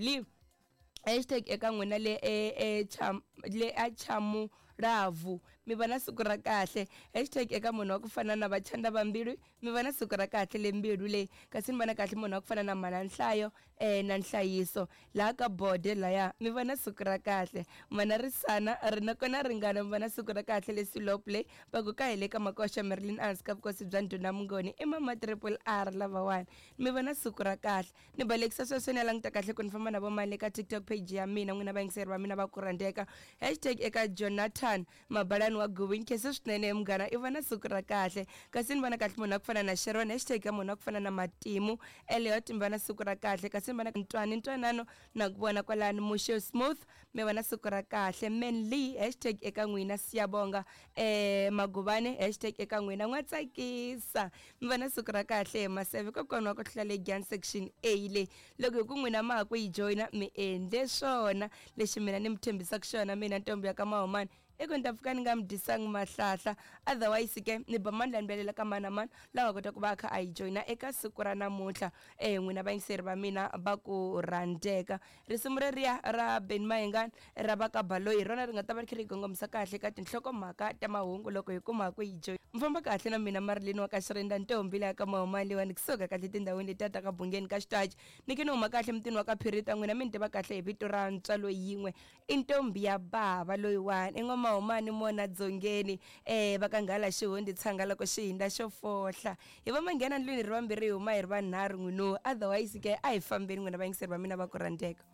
Joli hashtag eka n'wina le e, e, cham, le a chamulavu mi va na siku ra kahle. Hashtag eka munhu wa ku fana na vachanda va mbilu mi va na siku ra kahle le mbilu leyi. Kasi ni vona kahle munhu wa ku fana na mhana nhlayo na nhlayiso laha ka bode laya mi va na siku ra kahle. Mana risana ri na kona ringana mi va na siku ra kahle le silop leyi va ku ka hi le ka makoxa Marilyn Ans ka vukosi bya ndhuna Mungoni i mama triple R lavawani mi va na siku ra kahle. Ni balekisa sweswo ni ya languta kahle ku ni famba na vo mani le ka TikTok page ya mina n'wina vayingiseri va mina va ku rhandzeka. Hashtag eka Jonathan Mabalani wa Guvi nkhense swinene munghana i va na siku ra kahle. Kasi ni vona kahle munhu wa ku fana na Sharon hashtag ka munhu wa ku fana na Matimu Elliot mi va na siku ra kahle. Kasi ni vona ntwani ntwanano na ku vona kwalani Mushe Smooth mi va na siku ra kahle. Manly hashtag eka n'wina Siyabonga Magubane hashtag eka n'wina n'wa tsakisa mi va na siku ra kahle. Maseve kokwana wa ku hlula le Gyan section A le loko hi ku n'wina ma ha ku yi joyina mi endle swona lexi mina ni mi tshembisaka xona mina ntombi ya ka Mahumani i ku ni ta pfuka ni nga mi dyisangi mahlahla otherwise ke ni ba mani la ni velela ka mani na mani la nga kota ku va a kha a yi joyina eka siku ra namuntlha. N'wina vayingiseri va mina va ku rhandzeka risimu reriya ra Benny Mayengani ra va ka Baloyi hi rona ri nga ta va ri kha ri kongomisa kahle ka tinhlokomhaka ta mahungu loko hi kuma ku yi joyina. Mi famba kahle na mina Marilyn wa ka Xirenda ntombi leya ka Mahumani leyiwani kusuka kahle tindhawini letiya ta ka Bungeni ka Xitachi ni ke ni huma kahle mutini wa ka Phirita n'wina mi ni tiva kahle hi vito ra ntswalo yin'we i ntombi ya bava loyiwani i n'wamahumani mona dzongeni va ka nghala xihundi tshanga loko xi hindza xo fohla hi va manghena ndlwini ri vambirhi hi huma hi ri vanharhu n'wino otherwise ke a hi fambeni n'wina vayingiseri va mina va ku rhandzeka.